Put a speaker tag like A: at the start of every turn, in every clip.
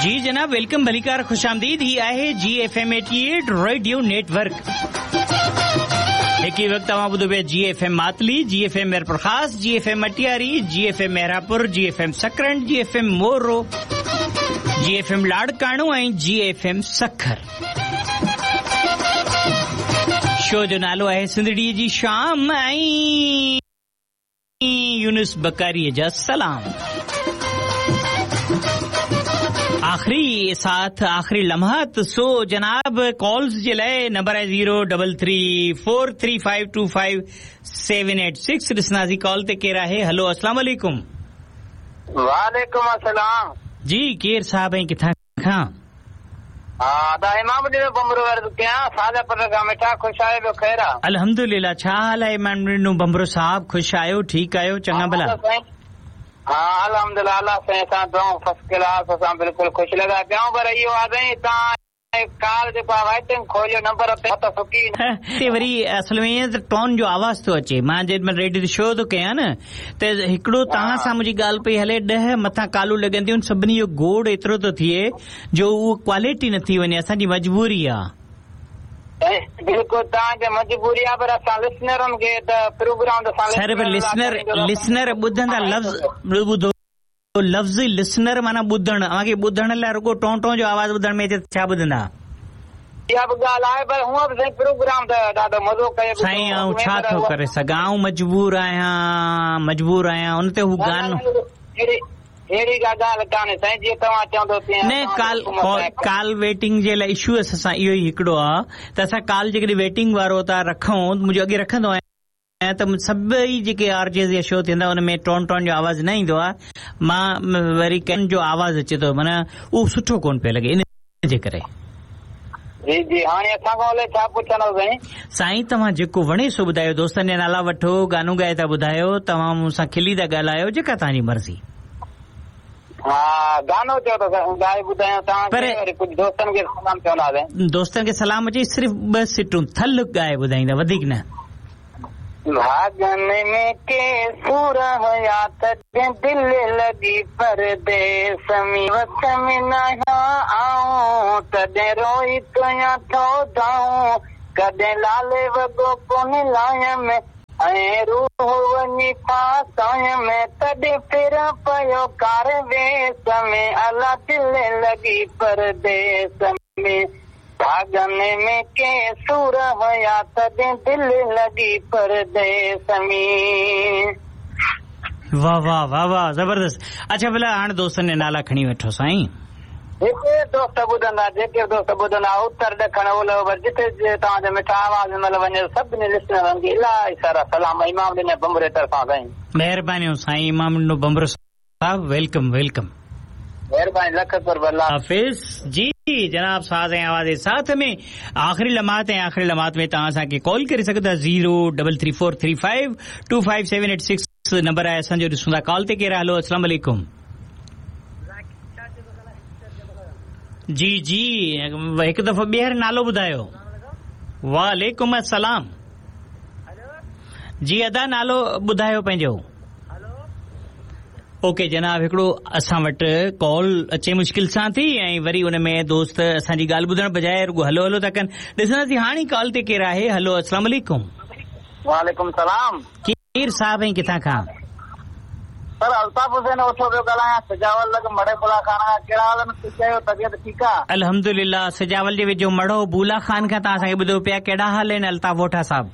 A: जी जनाब, welcome, भलीकार, ख़ुशि आमदीद। ही आहे जी एफ एम 88 रेडियो नेटवर्क। हिक ई वक़्तु तव्हां ॿुधो पिया G F M Matli, G F M Mirpur Khas, G F M Matiari, G F M Mehrapur, G F M Sakrand, G F M Moro, G F M Larkano ऐं G F M Sukkur. Show जो नालो आहे सिंधड़ीअ जी शाम ऐं यूनुस बकारीअ जा सलाम। आख़िरी साथ, आख़िरी लम्हात। सो जनाब, कॉल्स जे लाइ नंबर आहे 033433525 786। ॾिसंदासीं कॉल ते केरु आहे। हलो, अस्सलाम वालेकुम।
B: वालेकुम अस्सलाम।
A: जी, केरु साहब ऐं किथां खां?
B: हा, अदा इमाम ॾिनो बंबरो अर्ज़ु कयां, साजापुर खां। मिठा, ख़ुशि आहियो? ॿियो ख़ैर आहे?
A: अल्हम्दुलिल्लाह। छा हाल आहे इमाम ॾिनो बंबरो साहब? ख़ुशि आहियो? ठीकु आहियो? चङा भला?
B: हा, अल्हम्दुलिल्लाह, अल्लाह साईं असां दुआऊं फर्स्ट क्लास, असां बिल्कुलु ख़ुशि लॻा पिया आहियूं। पर इहो आहे साईं, तव्हां कॉल जेको आहे वेटिंग खोलियो नंबर ते त सुकी
A: ते वरी असल में ईअं त टोन जो आवाज़ थो अचे। मां जंहिं महिल रेडियो ते शो थो कयां न, त हिकिड़ो तव्हां सां मुंहिंजी ॻाल्हि पई हले, 10 मथां कालूं लॻंदियूं आहिनि, सभिनी जो गोड़ एतिरो थो थिए जो उहो क्वालिटी नथी वञे। असांजी मजबूरी आहे।
B: बिल्कुलु तव्हांजी मजबूरी आहे, पर असां लिसनरनि खे त प्रोग्राम त असां
A: सर, पर लिसनर ॿुधंदा लफ़्ज़ ॿुधो, लफ़्ज़ लिसनर माना ॿुधण। अव्हांखे ॿुधण लाइ रुगो टों टों जो आवाज़ ॿुधण में अचे त छा ॿुधंदा?
B: इहा बि ॻाल्हि आहे, पर हूअं बि साईं प्रोग्राम त ॾाढो मज़ो कयो।
A: साईं, आउं छा थो करे सघां? आउं मजबूर आहियां, मजबूर आहियां। उन ते हू गानो
B: अहिड़ी का ॻाल्हि कान्हे साईं, जीअं तव्हां चवंदो तीअं।
A: न, कॉल वेटिंग जे लाइ इशू असां सां इहो ई हिकिड़ो आहे त असां कॉल जेकॾहिं वेटिंग वारो था रखूं, मुंहिंजो अॻे रखंदो आहियां त सभई जेके आरजेस या शो थींदा उन में टोन टोन जो आवाज़ न ईंदो आहे, मां वरी कंहिं जो आवाज़ अचे थो, माना उहो सुठो कोन पियो लॻे, इन जे करे।
B: जी जी, हाणे असां खां अलाए छा पुछंदो साईं?
A: साईं, तव्हां जेको वणे सो ॿुधायो, दोस्तनि जा नाला वठो, गानो ॻाए था ॿुधायो, तव्हां मूंसां खिली था ॻाल्हायो, जेका तव्हांजी मर्ज़ी।
B: हा, गानो चओ त ॻाए ॿुधायां तव्हांखे, वरी कुझु दोस्तनि खे सलाम चवंदासीं।
A: दोस्तनि खे सलाम अचे, सिर्फ़ ॿ सिटूं थल ॻाए ॿुधाईंदा, वधीक न।
B: भागन में के सूर हुया तॾहिं दिलि लॻी परदेस में, वस में न आऊं तॾहिं रोई कयां थो दाऊं, कॾहिं लाले वॻो कोन लायमि ऐं रूह वञी फासायमि, तॾहिं फिर पियो कार वेस में, अला दिलि लॻी परदेस में। भागन में के सूर हुया तॾहिं दिलि लॻी परदेस में।
A: वाह वाह वाह वाह, ज़बरदस्त। अच्छा भला हाणे दोस्तनि जा नाला खणी वठो साईं।
B: जेके दोस्त ॿुधंदा, जेके दोस्त ॿुधंदा, उत्तर ॾखण ओलह उभर जिथे तव्हांजो मिठा आवाज़ महिल वञे, सभिनी लिसनरनि खे इलाही सारा सलाम इमाम ॾिनो बंबरे तरफ़ां साईं।
A: महिरबानियूं साईं इमाम ॾिनो बंबरो साहिब, welcome welcome.
B: महिरबानी, लख क़ुर्ब, अल्लाह
A: हाफ़िज़। जी जनाब, साज़ ऐं आवाज़ जे साथ में आख़िरी लम्हात ऐं आख़िरी लम्हात में तव्हां असांखे कॉल करे सघो था। 033433525 786 नंबर आहे असांजो। ॾिसूं था कॉल ते केरु आहे। हलो, अस्सलाम वालेकुम। जी जी, हिकु दफ़ो ॿीहर नालो ॿुधायो। वालेकुम अस्सलाम। जी अदा, नालो ॿुधायो पंहिंजो। ओके जनाब, हिकिड़ो असां वटि कॉल अचे मुश्किल सां थी ऐं वरी उन में दोस्त असांजी ॻाल्हि ॿुधण बजाए रुगो हलो हलो था कनि। ॾिसंदासीं हाणे कॉल ते केरु आहे। हलो, अस्सलाम वालेकुम।
B: वालेकुम सलाम।
A: केरु साहिब ऐं किथां खां?
B: सर, अल्ताफ़ हुसैन ओठो पियो ॻाल्हायां, सजावल लॻ मड़े बुला खान खां। कहिड़ा हाल आहिनि? ख़ुशि आहियो? तबियत ठीकु आहे?
A: अल्हम्दुलिल्लाह। सजावल जे वेझो मड़ो बूला खान खां तव्हां असांखे ॿुधो पिया। कहिड़ा हाल आहिनि अल्ताफ़ ओठा साहिब?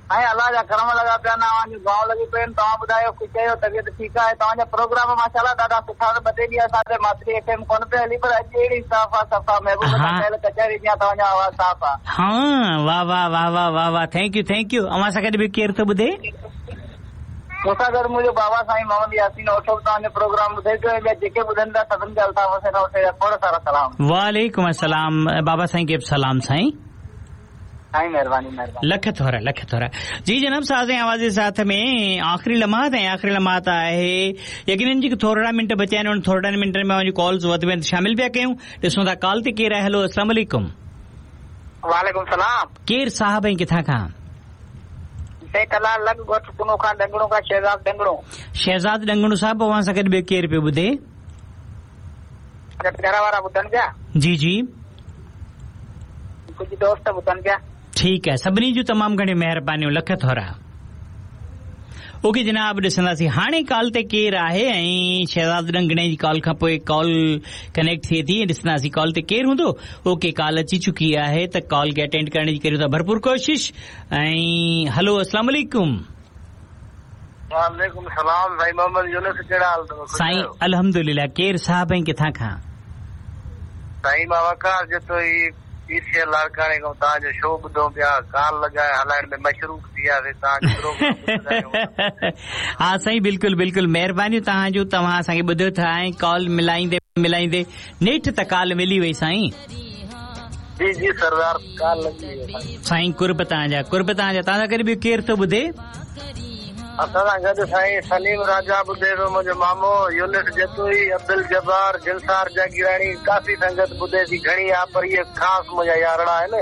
B: ऐं अलाह जा करम लॻा पिया आहिनि, अव्हांजूं दुआऊं लॻी पियूं आहिनि। तव्हां ॿुधायो, ख़ुशि आहियो? तबियत ठीकु आहे? तव्हांजा प्रोग्राम माशाअल्लाह ॾाढा सुठा आहिनि। ॿ टे ॾींहं असांजे मातरी एफ एम कोन पियो हली, पर अॼु अहिड़ी साफ़ आहे, सफ़ा महबूब सां कयल कचहरी जीअं तव्हांजो आवाज़ साफ़ आहे।
A: हा, वाह वाह वाह वाह वाह वाह, thank you thank you. अव्हां सां गॾु बि केरु थो ॿुधे?
B: मूंसां गॾु मुंहिंजो बाबा साईं मोहम्मद यासीन ओठो बि तव्हांजो प्रोग्राम ॿुधे पियो ऐं ॿिया जेके ॿुधनि था सभिनी खे अल्ताफ़ हुसैन ओठे जा खोड़ सारा सलाम।
A: वालेकुम अस्सलाम। बाबा साईं खे बि सलाम साईं।
B: साईं महिरबानी महिरबानी,
A: लख थोरा लख थोरा। जी जनाब, साज़ ऐं आवाज़ जे साथ में आख़िरी लम्हात ऐं आख़िरी लम्हात आहे। यकीनन जेके थोरा मिंट बचिया आहिनि, उन थोरनि मिंटनि में अव्हांजी कॉल्स वधि में शामिल पिया कयूं। ॾिसूं था कॉल ते केरु आहे। हलो, अस्सलाम वालेकुम।
B: वालेकुम सलाम।
A: केरु साहिब ऐं किथां खां?
B: कला लॻ ॻोठ कुनो खां डंगणो खां शहज़ाद डंगणो।
A: शहज़ाद डंगणो साहिब, अव्हां सां गॾु ॿियो केरु पियो ॿुधे?
B: گهر وارا ٻڌن پيا.
A: جي جي.
B: ڪجهه دوست ٻڌن پيا.
A: ٺيڪ آهي سڀني جون تمام گهڻيون مهربانيون لک ٿورا. اوڪي جناب ڏسنداسين هاڻي ڪال تي ڪير آهي ۽ شهزاد ڏنگڻي جي ڪال کان پوء ڪال ڪنيڪٽ ٿئي ٿي ۽ ڏسنداسين ڪال تي ڪير هوندو اوڪي ڪال اچي چڪي آهي ته ڪال کي اٽينڊ ڪرڻ جي ڪريون ٿا ڀرپور ڪوشش ۽ هلو اسلام عليڪم.
C: وعليڪم السلام سائين محمد يونس ڪهڙا حال اٿو
A: خوش سائين آهيو. الحمدلله ڪير صاحب ۽ ڪٿان کان.
C: سائين مان وقار جتوئي پي سي ايل لاڙڪاڻي کان توهان جو شو ٻڌون پيا ڪال لڳائي هلائڻ ۾ مصروف ٿي وياسي توهان جو پروگرام ٻڌندا آهيون.
A: ها سائين بلڪل بلڪل مهربانيون توهان جون توهان اسان کي ٻڌو ٿا ۽ ڪال ملائيندي ملائيندي نيٺ ته ڪال ملي وئي سائين.
C: جي جي سردار ڪال لڳي وئي سائين.
A: سائين قرب توهان جا قرب توهان جا توهان سان گڏ ٻيو ڪير ٿو ٻڌي.
C: اسان سان گڏ سائين سليم راجا ٻڌي ٿو منهنجو مامو يونس جتوئي عبدالجبار جنسار جاگيراڻي ڪافي سنگت ٻڌي ٿي گهڻي آ پر اهي خاص منهنجا يارڙا آهن.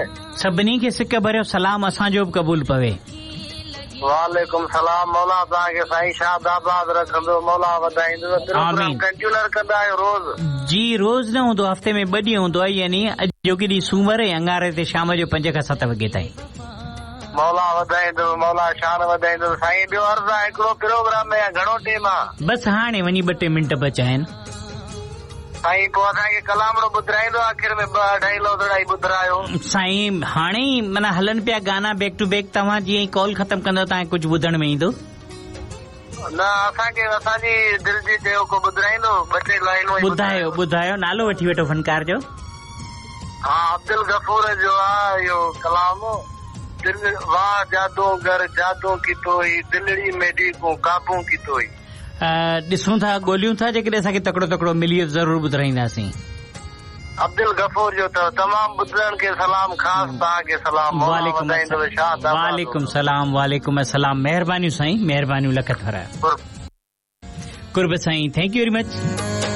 A: سڀني کي سڪ ڀريو سلام اسان جو به قبول پوي.
C: وعليڪم سلام مولا توهان کي سائين شاد آباد رکندو مولا وڌائيندو پروگرام
A: آمين.
C: ڪنٽينر ڪندا آهيو روز.
A: جي روز نه هوندو هفتي ۾ ٻه ڏينهن هوندو آهي يعني اڄوڪي ڏينهن سومر ۽ اڱاري تي شام جو پنج کان ست وڳي تائين.
C: مولا وڌائيندو مولا شان وڌائيندو سائين ٻيو عرض آ هڪڙو پروگرام ۾ گهڻو ٽيم آ.
A: بس هاڻي وڃي ٻه ٽي منٽ بچا آهن.
C: سائين پوء اسان کي ڪلامڙو ٻڌرائيندو آخر ۾ ٻه اڍائي لوڌڙا ئي ٻڌرايو.
A: سائين هاڻي ئي معنيٰ هلن پيا گانا بيڪ ٽو بيڪ توهان جيئن ئي ڪال ختم ڪندو توهان کي ڪجهه ٻڌڻ ۾ ايندو.
C: نه اسان کي اسان جي دل جي چيو ڪو ٻڌرائيندو ٻه ٽي لائينون ئي
A: ٻڌايو ٻڌايو نالو وٺي وٺو فنڪار جو.
C: ها عبدالغفور جو آ اهو ڪلام دل واه جادوگر جادو ڪيتو ئي دلڙي ميڏي ڪون قابو ڪيتو ئي.
A: ڏسون ٿا ڳوليون ٿا جيڪڏهن اسان کي تڪڙو تڪڙو ملي ويو ته ضرور ٻڌرائينداسين.
C: عبدالغفور جو اٿو تمام ٻڌندڙن کي سلام خاص توهان کي سلام مولا
A: وعليڪم
C: وڌائيندو شاد آباد
A: وعليڪم
C: هوندو.
A: سلام وعليڪم السلام مهربانيون سائين مهربانيون لک ٿورا.
C: قرب.
A: قرب سائين thank you very much.